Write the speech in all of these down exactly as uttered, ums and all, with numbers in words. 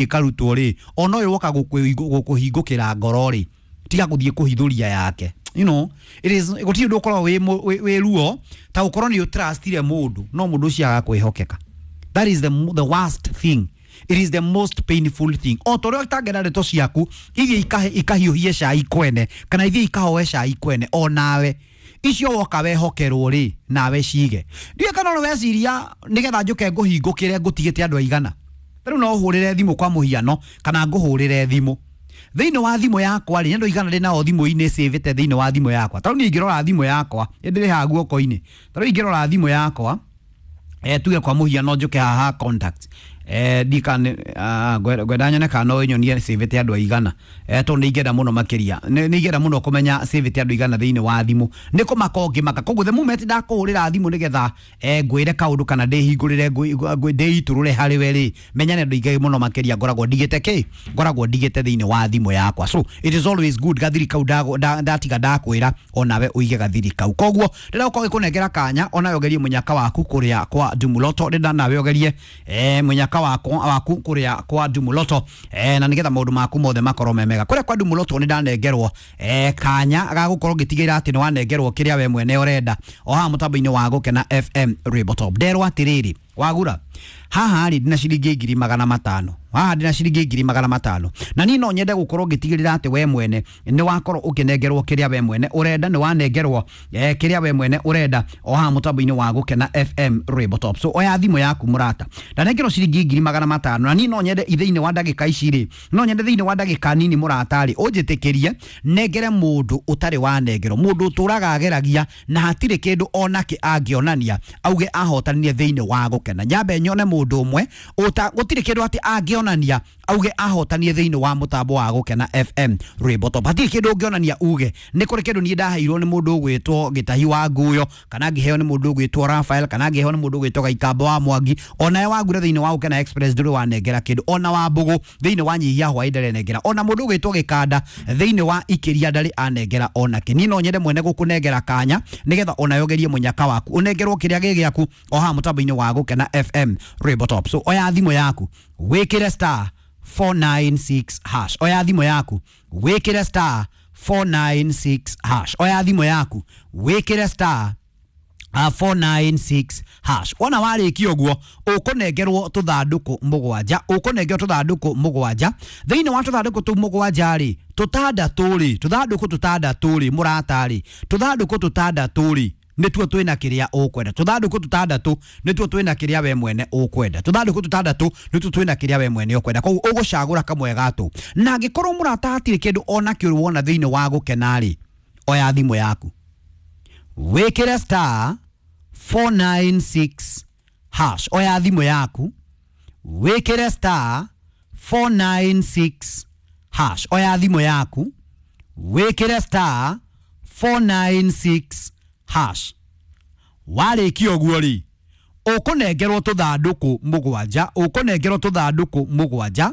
Ĩkarutwo rĩ, ona ũyũ woka gũkũhingũkĩra ngoro rĩ, tiga gũthiĩ kũhithũria yake. You know it is gũtirĩ ũndũ ũkoragwo wĩ mũ- wĩ wĩ ruo ta gũkorwo nĩ ũtrustire mũndũ no mũndũ ũcio agakwĩhokeka. That is the, mo- the worst thing. It is the most painful thing. O ta ũrĩa ũtangĩenda ndeto ciaku ithiĩ ikahe- ikahiũhie cai kwene kana ithiĩ ikahoe cai kwene, o nawe icio woka wehokerwo rĩ, nawe cige. Ndiũĩ kana no weciria nĩgetha njũke ngũhingũkĩre ngũtigĩte andũ aigana. Rĩu no ũhũrĩre thimũ kwa mũhiano kana ngũhũrĩre thimũ thĩinĩ wa thimũ yakwa rĩ, nĩ andũ aigana ndĩ nao thimũ-inĩ cĩvĩte thĩinĩ wa thimũ yakwa? Ta rĩu niĩ ingĩrora thimũ yakwa ĩndĩrĩ haha guoko-inĩ, ta rĩu ingĩrora thimũ yakwa, eh, tuge kwa mũhiano njũke haha contact, eh, ndika ngwenda nyone kana no ĩnyonie cĩvĩte andũ aigana, eh, tondũ nĩ ingĩenda mũno makĩria, nĩ nĩ ingĩenda mũno kũmenya cĩvĩte andũ aigana thĩinĩ wa thimũ. Nĩ kũmaka ũngĩmaka. Koguo the moment ndakũhũrĩra thimũ nĩgetha eh, ngwĩre kaũndũ kana ndĩhingũrĩre ngwĩ- ngwĩ- ndĩitũrũre harĩ we rĩ, menya nĩ andũ aingĩ mũno makĩria ngoragwo ndigĩte kĩ ngoragwo ndigĩte thĩinĩ wa thimũ yakwa. So it is always good gathiri kau ndago- nda- ndatiga ndakwĩra onawe ũige gathiri kau. Koguo ndĩrenda gũkorwo gĩkũnengera kanya onawe ũgerie mũnyaka waku kũrĩa kwa Ndumuloto. Ndĩrenda nawe ũgerie eh, mũnyaka wakwa waku kũrĩa kwa Ndumuloto, eh, na nĩgetha maũndũ maku mothe makorwo me mega kũrĩa kwa Ndumuloto. Nĩ ndanengerwo eh, kanya ga gũkorwo ngĩtigĩrĩra atĩ nĩ wanengerwo kĩrĩa we mwene ũrenda o haha mũtambo-inĩ wa Gũkena F M Rainbow Top. Nderwo atĩrĩrĩ, wagura haha rĩ, ndina ciringi ngiri magana matano haha, ndina ciringi ngiri magana matano, na niĩ no nyende gũkorwo ngĩtigĩrĩra atĩ we mwene nĩ wakorwo ũkĩnengerwo kĩrĩa we mwene ũrenda, nĩ wanengerwo eh, kĩrĩa we mwene ũrenda o haha mũtambo-inĩ wa Gũkena F M Rainbow Top. So oya thimũ yaku, mũrata. Ndanengerwo ciringi ngiri magana matano, na niĩ no nyende thĩinĩ wa ndagĩka ici rĩ, no nyende thĩinĩ wa ndagĩka nini, mũrata rĩ, ũnjĩtĩkĩrie nengere mũndũ ũtarĩ wanengerwo, mũndũ ũtũraga ageragia na hatirĩ kĩndũ onake angĩonania auge ahotanire thĩinĩ wa Gũkena. Nyambe nyone mũndũ ũmwe ũta gũtirĩ kĩndũ atĩ angĩonania auge ahotanire thĩinĩ wa mũtambo wa Gũkena F M Rainbow Top. Hatirĩ kĩndũ ũngĩonania uge nĩ kũrĩ kĩndũ niĩ ndaheirwo nĩ mũndũ ũgwĩtwo Gĩtahi wa Nguyo, kana ngĩheo nĩ mũndũ ũgwĩtwo Rafael, kana ngĩheo nĩ mũndũ ũgwĩtwo Gaikambo wa Mwangi. Onawe wagura thĩinĩ wa Gũkena Express ndũrĩ wanengera kĩndũ, ona wa Mbũgũ thĩinĩ wa Nyihia Hwaĩ ndarĩ ona mũndũ ũgwĩtwo Gĩkanda thĩinĩ wa Ikĩria ndarĩ anengera onake. Niĩ no nyende mwene gũkũnengera kanya nĩgetha onawe ũgerie mũnyaka waku, ũnengerwo kĩrĩa gĩ gĩaku o haha mũtambo-inĩ wa Gũkena F M Rainbow Top. So oya thimũ yaku wĩkĩre star four nine six hash. Oya thimũ yaku wĩkĩre star four nine six hash. Oya thimũ yaku wĩkĩre star uh, four nine six hash. Wona warĩkia ũguo, ũkũnengerwo tũthandũkũ mũgwanja, ũkũnengerwo tũthandũkũ mũgwanja. Thĩinĩ wa tũthandũkũ tũu mũgwanja rĩ, tũtandatũ rĩ, tũthandũkũ tũtandatũ rĩ, mũrata rĩ, tũthandũkũ tũtandatũ rĩ, nĩtuo twĩna kĩrĩa ũkwenda. Tũthandũkũ tũtandatũ nĩtuo twĩna kĩrĩa we mwene ũkwenda. Tũthandũkũ tũtandatũ nĩtuo twĩna kĩrĩa we mwene ũkwenda. Koguo ũgũcagũra kamwe gatũ. Na angĩkorwo, mũrata, hatirĩ kĩndũ ona kĩũru wona thĩinĩ wa Gũkena rĩ, oya thimũ yaku wĩkĩre star four nine six hash. Oya thimũ yaku wĩkĩre star four nine six hash. Oya thimũ yaku wĩkĩre star four nine six hash. Warĩkia ũguo rĩ, ũkũnengerwo tũthandũkũ mũgwanja, ũkũnengerwo tũthandũkũ mũgwanja,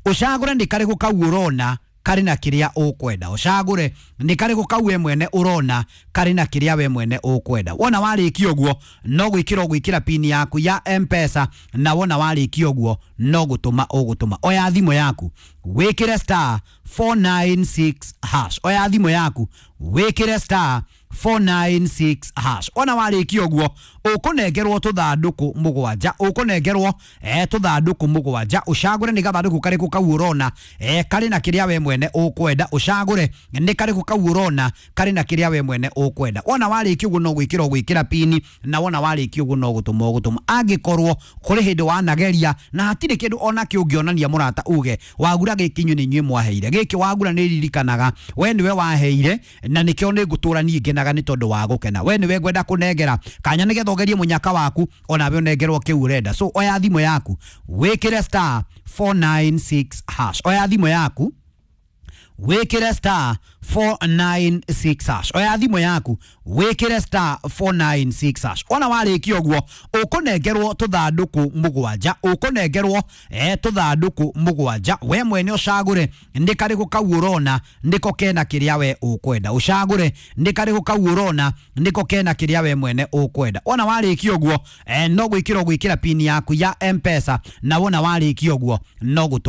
ũcagũre nĩ karĩkũ kau ũrona karĩ na kĩrĩa ũkwenda. Ũcagũre nĩ karĩkũ kau we mwene ũrona karĩ na kĩrĩa we mwene ũkwenda. Wona warĩkia ũguo, no gwĩkĩra ũgwĩkĩra pini yaku ya M-Pesa, na wona warĩkia ũguo, no gũtũma ũgũtũma. Oya thimũ yaku wĩkĩre star four nine six hash. Oya thimũ yaku wĩkĩre star four nine six hash. Wona warĩkia ũguo, ũkũnengerwo tũthandũkũ mũgwanja, ũkũnengerwo eh, tũthandũkũ mũgwanja, ũcagũre nĩ gathandũkũ karĩkũ kau ũrona eh, karĩ na kĩrĩa we mwene ũkwenda. Ũcagũre nĩ karĩkũ kau ũrona karĩ na kĩrĩa we mwene ũkwenda. Wona warĩkia ũguo, no gwĩkĩra ũgwĩkĩra pini, na wona warĩkia ũguo, no gũtũma ũgũtũma. Angĩkorwo kũrĩ hĩndĩ wanageria na hatirĩ kĩndũ ona kĩ ũngĩonania, mũrata, uge wagura gĩkĩ inyuĩ nĩ inyuĩ mwaheire gĩkĩ, wagura nĩ ririkanaga we nĩwe waheire na nĩkĩo nĩ ngũtũra niĩ ngenaga nĩ tondũ wa Gũkena, we nĩwe ngwenda kũnengera kanya nĩgetha ũgerie mũnyaka waku onawe ũnengerwo kĩu ũrenda. So oya thimũ yaku wĩkĩre star four nine six hash. Oya thimũ yaku wĩkĩre star four nine six hash. Oya thimũ yaku, wĩkĩre star four nine six hash. Wona warĩkia ũguo, ũkũnengerwo tũthandũkũ mũgwanja, ũkũnengerwo eh, tũthandũkũ mũgwanja. We mwene ũcagũre nĩ karĩkũ kau ũrona nĩko kena kĩrĩa we ũkwenda. Ũcagũre nĩ karĩkũ kau ũrona nĩko kena kĩrĩa we mwene ũkwenda. Wona warĩkia ũguo, eh, no gwĩkĩra ũgwĩkĩra pin yaku ya M-Pesa, na wona warĩkia ũguo no gũtũ